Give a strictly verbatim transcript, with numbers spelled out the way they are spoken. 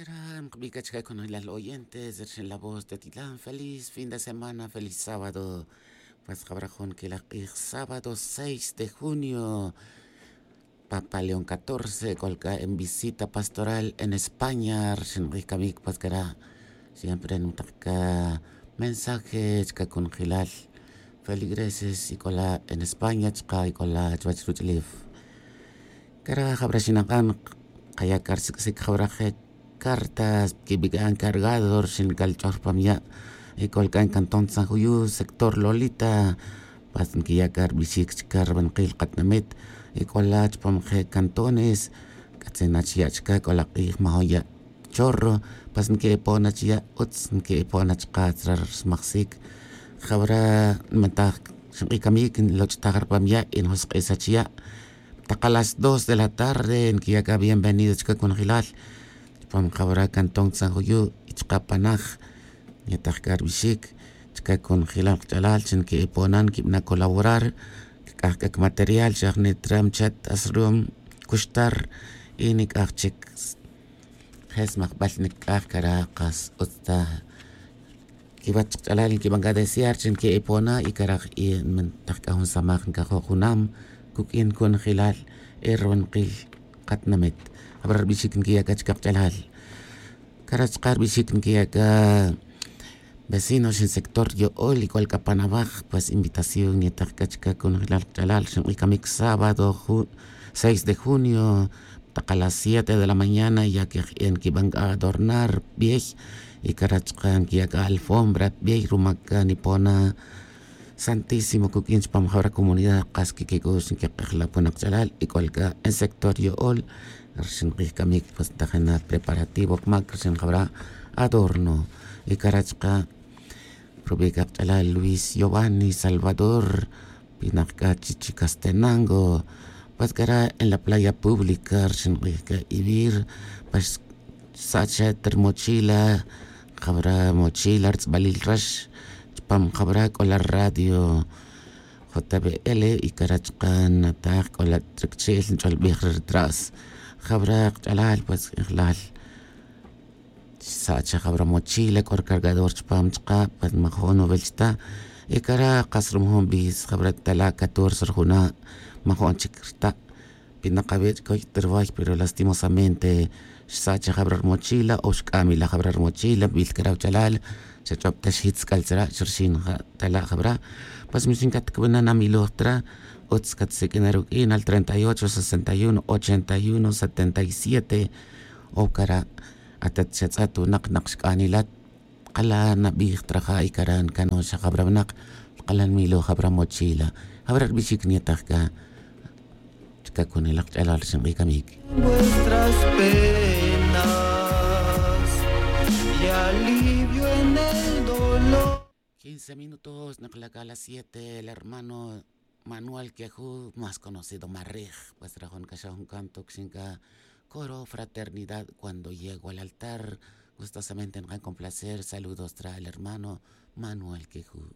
Ram kbica chica con la oyentes rixin la voz de tilan feliz fin de semana feliz sábado. Pues jabra jun quilaj k'ij sábado seis de junio. Papa león catorce colca en visita pastoral en españa rixin k'ij camic pues cara. Siempre nutaq ca mensaje chica con jilal feligreses y cola en españa chica y cola chuwach ruch'lif. Cara jabra xinak'an kaya' car sic'sic jabra je cartas quibic'an cargado rixin calch'oj rpam ya'. Y colc'an cantón san juyu sector lolita. Pas nquiya' car bixic chica rbankil katinamit. Y c'ola chpam je cantones c'atzin na chiya' chica c'ola k'ij majo ya' chorro. Pas nqui'ipon na chiya' utz nqui'ipon na chka tzra rsmajsic. Jabra nmataj xink'icamic nloch'taj rpam ya' y njosk'is achiya'. Taka las dos de la tarde nquiya' c'a bienvenido chica conjelal. Chpam jabra cantón san juyu' y chka panaj. Nyetaj c'a rbixic chica conjelal kach'alal chi nqui'ipon na nquibana colaborar. Cac'aj c'a cmaterial xa jnit ram chat asrum cuxtar. Y nic'aj chic je smajbal nic'aj cara kas utz ta. Quiwach kach'alal nquiban c'a desear chi nqui'ipon na y cara jk'in nmantaj c'a jun samaj ncajo' junam. Cuq'uin conjelal e rbankil katinamit. Jabra rbixic nquiya' c'a chica kach'alal. Cara chka rbixic nquiya' c'a vecino xin sector yo'ol y c'ol c'a pan abaj pues invitación nyetaj c'a chica conjelal kach'alal xink'icamic sábado seis de junio. Taka las siete de la mañana ya que jk'in nquiban c'a adornar bey. Y cara chka nquiya' c'a alfombra bey ruma c'a nipon na santísimo cuq'uin chpam jabra comunidad kas quiquic'ux nquik'ejla pon kach'alal y c'ol c'a en sector yo'ol. Rixin k'ij camic pues ntajin na preparativo cmac rixin jabra adorno. Y cara chka rubi' c'a kach'alal luis giovanni salvador. Pinak c'a chichi castenango. Pues cara en la playa pública rixin k'ij c'a ivir. Pues xsa' cha ta rmochila jabra mochila rtz'balil rax chpam jabra c'ola radio. Jotebel y cara chka nataj c'ola tracchi'l nch'olbij re rtras. Jabra kach'alal pues k'ijlal xsa' cha jabra mochila c'o rcargador chpam chka pues majo'n nuvel chta. Y cara kas rumujun bis jabra tala' catorce rjuna' majo'n chic rta'. Pinak awe' chcoy ta rway pero lastimosamente xsa' cha jabra rmochila o xc'am ila jabra rmochila nbil cara wachalal. Xa ch'ob ta xjitz c'al tzra' xrxin ja tala' jabra. Pues mi xin catcubana na miloj tra utz catsiq'uin na ruq'uin al treinta y ocho sesenta y uno ochenta y uno setenta y siete. O cara atat xa tz'at winak nak xc'anila. Kala nabij traja' y cara ncano xa jabra winak. Kala nmilo jabra mochila jabra rbixic nyetaj c'a chica con el akch'alal xink'icamic. Vuestras penas y alivio en el dolor. Quince minutos nakla' c'a las siete el hermano manuel queju más conocido marej. Pues rajon c'a xa jun canto quixin c'a coro fraternidad cuando llego al altar. Gustosamente nkan con placer saludos tra el hermano manuel queju.